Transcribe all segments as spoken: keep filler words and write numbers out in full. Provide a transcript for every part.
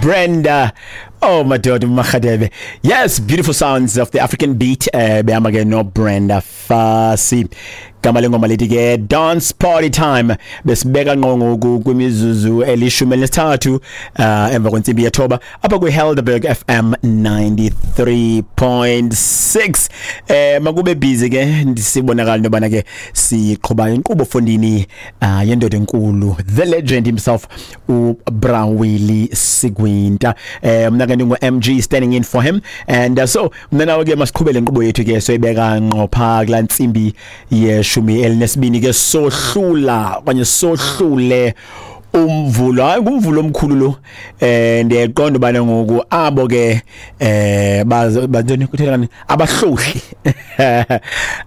Brenda. Oh madoda, Makgadebe. Yes, beautiful sounds of the African beat. Eh behamba ke no Brenda Fassie. Gama lengoma lithi ke "Dance Party Time". Besibeka ngqo ngoku kwimizuzu elishumi elinesithathu uh emva kwentsimbi yethoba apha kwi Helderberg F M ninety-three point six. Eh makube busy ke, ndisibonakala into yobana ke siqhuba inkqubo fondini uh yendoda enkulu, the legend himself, uBra Willie Sigwinta. eh mna ke ndingu M G, standing in for him, and uh, so mna nawe ke masiqhubele inkqubo yethu ke, soyibeka ngqo phaa kulaa ntsimbi yeshumi elinesibini ke, sohlula okanye sohlule umvulo. Hayi, ngumvulo omkhulu lo. eh ndiyayiqonda ubana ngoku abo ke eh bazo kutheni, abahlohli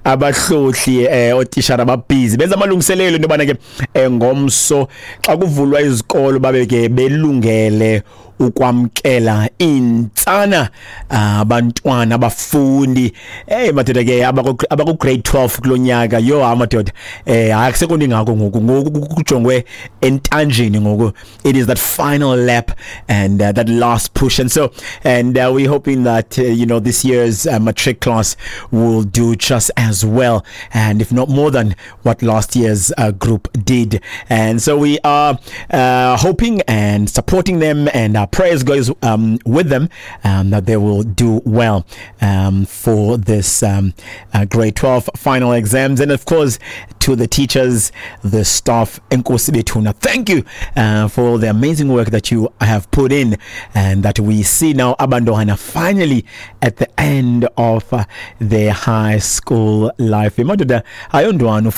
abahlohli eh otishara ababhizi benza amalungiselelo into yobana ke eh, ngomso xa kuvulwa izikolo babe ke belungele ukwamkela intsana, abantwana, abafundi. Hey madoda ke, abaku abaku grade twelve kulonyaka. Yo amadoda, eh hayi, akusekho ngako ngoku, ngoku kujongwe entanjeni ngoku. It is that final lap and uh, that last push, and so and uh, we're hoping that uh, you know this year's uh, matric class will do just as well and if not more than what last year's uh, group did. And so we are uh, hoping and supporting them, and our prayers goes um, with them um, that they will do well um, for this um, uh, grade twelve final exams. And of course, to the teachers, the staff, enkosi bethuna, thank you uh, for the amazing work that you have put in and that we see now abantwana finally at the end of uh, their high school life. Madoda, ayondwana.